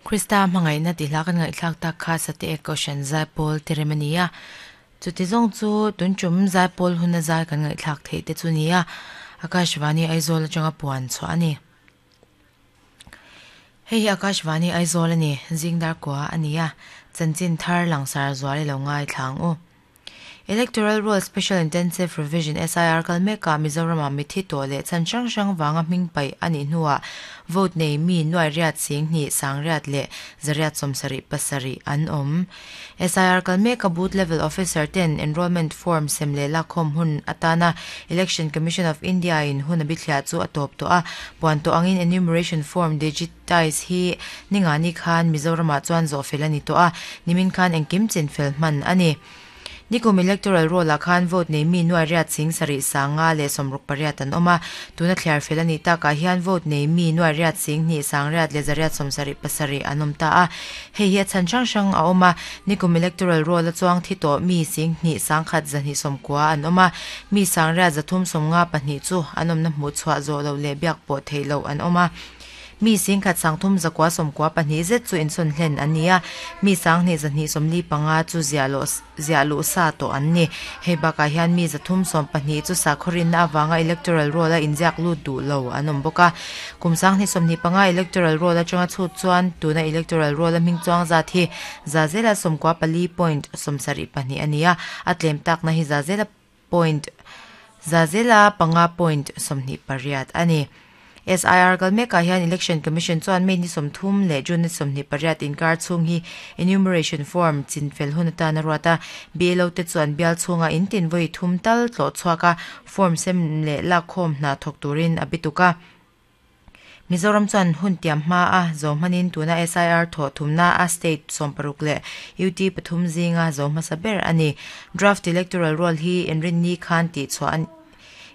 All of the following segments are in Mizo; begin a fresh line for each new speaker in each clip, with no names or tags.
Krista hmangaihna tih hla kan ngaihthlak tak kha Sateek Kohhran Zaipawl te rem a ni a. Chuti zawng chu tun tum Zaipawl huna zai kan ngaihthlak theih te chu ni a, Akashvani Aizawl atanga puan chhuah a ni. Hei hi Akashvani Aizawl a ni, Zingdar kua a ni a, chanchin thar langsar zual i lo ngaithla ang u. Electoral Roll Special Intensive Revision, SIR, kal mekah Mizoramah mithi tawh leh chhan hrang hrang vanga hming paih a nih hnuah vote nei mi nuai riat singhnih sangriat leh zariat sawmsarih pasarih an awm. SIR kal meka Booth Level Officer ten enrollment form sem leh lakkhawm hun atana Election Commission of India in hun a bithliah chu a tawp tawh a, puan tawh angin enumeration form digitize hi ningani khan Mizoramah chuan zawhfel a ni tawh a, nimin khan engkim chinfel hman a ni. Nikum Electoral Roll-ah khan vote nei mi nuai riat sing sarih sanga leh sawmruk pariat an awm a, tuna thliar fel a nih takah hian vote nei mi nuai riat sing hnih sang riat leh zariat sawmsarih pasarih an awm ta a. Hei hi a chhan hrang hrang a awm a, nikum Electoral Roll-a chuang thi tawh mi sing hnih sangkhat zahnih sawmkua an awm a, mi sang riat zathum sawmnga pahnih chu an awmna hmuh chhuah zawh loh leh biak pawh theih loh an awm a. Mi singkhat sangthum zakua sawmkua pahnih zet chu insawn hlen an ni a, mi sanghnih zahnih sawmli panga chu ziah ziah luh sa tawh an ni. Hei bakah hian mi zathum sawm pahnih chu sakhaw rinna avanga electoral roll a inziak lut duh lo an awm bawk a. Kum sanghnih sawmhnih panga electoral roll atanga chhut chuan tuna electoral roll a hming chuang zat hi za zela sawmkua pali point sawmsarih pahnih a ni a, a tlem takna hi za zela point za zela panga point 28 a ni. SIR kal mekah hian Election Commission chuan May ni 30 leh June ni 28 inkar chhung hi enumeration form chinfel hun atan a ruat a. BLO te chuan bial chhunga in tin vawi thum tal tlawh chhuak a, form sem leh lakkhawm hna thawk turin a bituk a. Mizoram chuan hun tiam hma a zo hmanin tuna SIR thawh thumna a state 60 leh UT pathum zinga zo hmasa ber a ni. Draft Electoral Roll hi inrinni khan tih chhuah a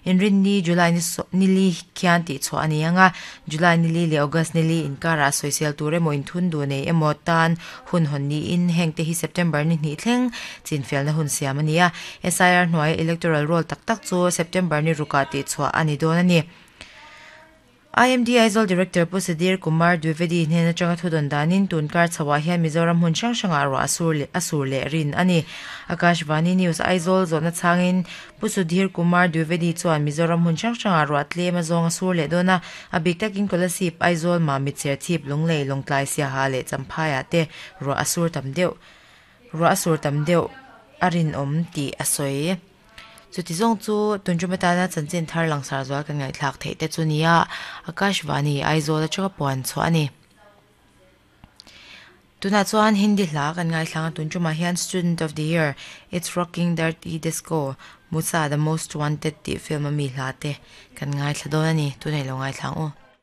Inrinni July ni nili khian tih chhuah a ni ang a, July nili leh August nili inkarah sawisel tur emaw inthun duh nei emaw tan hun hawn niin hengte hi September ni hnih thleng chinfelna hun siam a ni a. SIR hnuaia Electoral Roll tak tak chu September ni rukah tih chhuah a ni dawn a ni. IMD Aizawl Director Pu Sudhir Kumar Dwivedi hnen atanga thu dawn danin tun kar chhoah hian Mizoram hmun hrang hrangah ruah a sur leh a sur leh rin a ni. Akashvani News Aizawl zawhna chhangin Pu Sudhir Kumar Dwivedi chuan Mizoram hmun hrang hrangah ruah tlem a zawng a sur leh dawn a, a bik takin Kolasib, Aizawl, Mamit, Serchhip, Lunglei, Lawngtlai, Siaha leh Champhaiah te ruah a sur tam deuh ruah a sur tam deuh a rinawm tih a sawi. Chuti zawng chu tuntum atana chanchin thar langsar zual kan ngaihthlak theih te chu nia Akashvani Aizawl atanga puan chhuah a ni. Tunah chuan Hindi hla kan ngaithlang a tuntumah hian Student of the Year, It's Rocking Dirty Disco, Musa the Most Wanted tih film ami hla te kan ngaithla dawn a ni. Tunah i lo ngaithla ang u.